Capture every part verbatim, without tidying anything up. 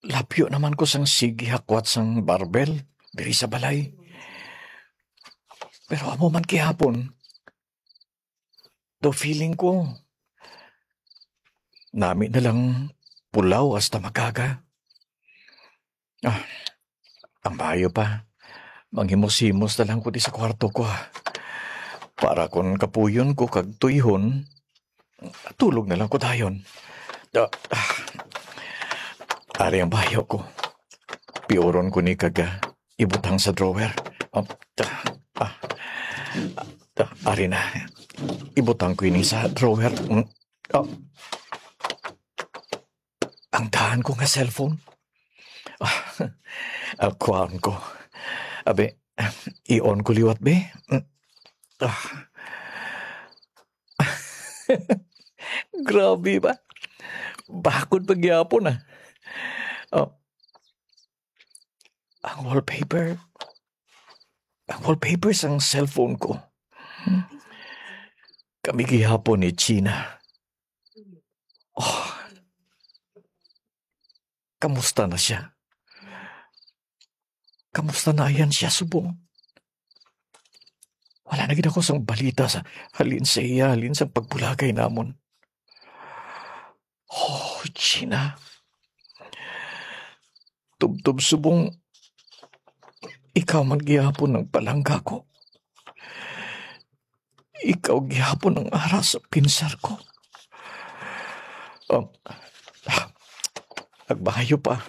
lapyo naman ko sang sige hakwat sang barbell diri sa balay. Pero amo man gihapon, daw feeling ko, nami na lang pulaw hasta mag-aga. Ah, ang maayo pa, manghimos-himos na lang ko di sa kwarto ko, ha. Para kon kapuyon ko kag tuyhon, tulog na lang ko dayon. Ah, ah. Ari ang bayo ko. Piuron ko ni kag, ah, ibutang sa drawer. Ah, ah, ah, ah, ari na. Ibutang ko ini sa drawer. Mm. Ah. Ang daan ko nga cellphone. Ah, ah, kuhaon ko. Abi, i-on ko liwat, be. Mm. Ah. Grabe ba? Bakod pa gyapon, ah. Oh. Ang wallpaper. Ang wallpaper sang cellphone ko. Kami gihapon ni Gina. Oh. Kamusta na siya? Kamusta na yan siya subong? Wala na gid ako sang balita sa halin sa iya, halin sa pagbulagay namon. Oh, Gina. Tubtob subong ikaw man gihapon ang palangga ko. Ikaw gihapon ang ara sa pinsar ko. Um, nagbayo pa.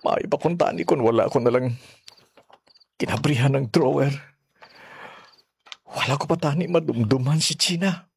Maayo pa kuntani kung wala ko na lang kinabrihan ang drawer. Wala ko pa tani madumduman si Gina.